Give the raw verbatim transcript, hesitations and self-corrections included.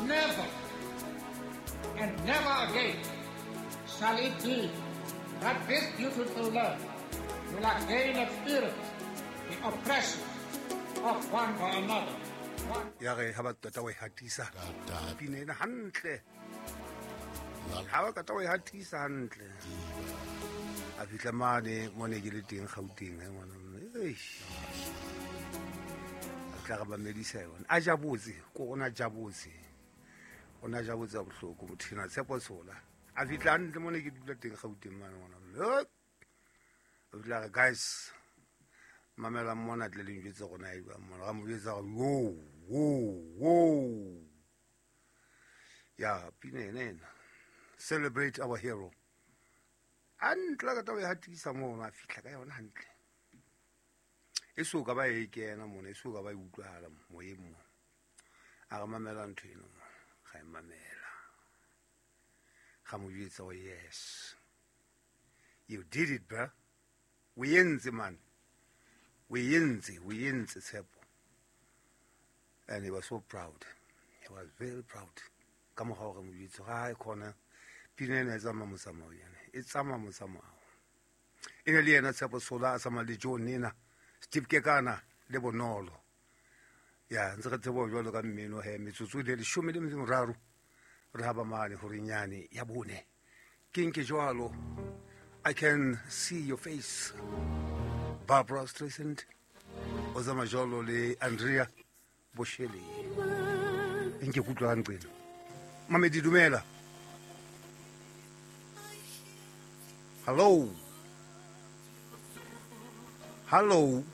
Never and never again shall it be that this beautiful land will again experience the oppression of one or another. Ya re ha ba qeta ho e hatisa pina ena hantle, ha ba qeta ho e hatisa hantle, a fihla mane mo ne ke le teng Gauteng, he ngwana mme, eish, a tla re ba medisa yona. A jabotse ko ona jabotse, ona jabotse ya bohloko motho ena Tshepo Tshola. A fihla hantle mo ne ke dula teng Gauteng mane ngwana mme, a fihla re, guys, mamela mona tle le njwetse rona e bang mona. Ra mo jwetsa hore wo wo wo ya pina ena ena, Celebrate Our Hero, hantle ka taba e hatisa mono, a fihla ka yona hantle, e so ka ba e kena mona, e so ka ba e utlwahala moyeng mo. A re mamela ntho eno mo, ga e mamela, ga mo jwetsa hore yes, you did it, bro, o entse man, o entse, o entse Tshepo. And he was so proud, he was very proud. Ka mokgwa o re mo jwetse ga e khona pina ena e tsamaya motsamao yane, e tsamaya motsamao. E ne le yena Tshepo Tshola a tsamaya le Joe Nina, Steve Kekana le Bonolo. Ya ntse re tsebo jwalo ka mmino he, metsotso e le leshome le metso e meraro re ha ba mane hore nyane ya bone. Ke nke jwalo, I can see your face, Barbara Streisand, o tsamaya jwalo le Andrea Bocelli. Nke ke utlwa hantle. Mamedi, dumela. Hello. Hello.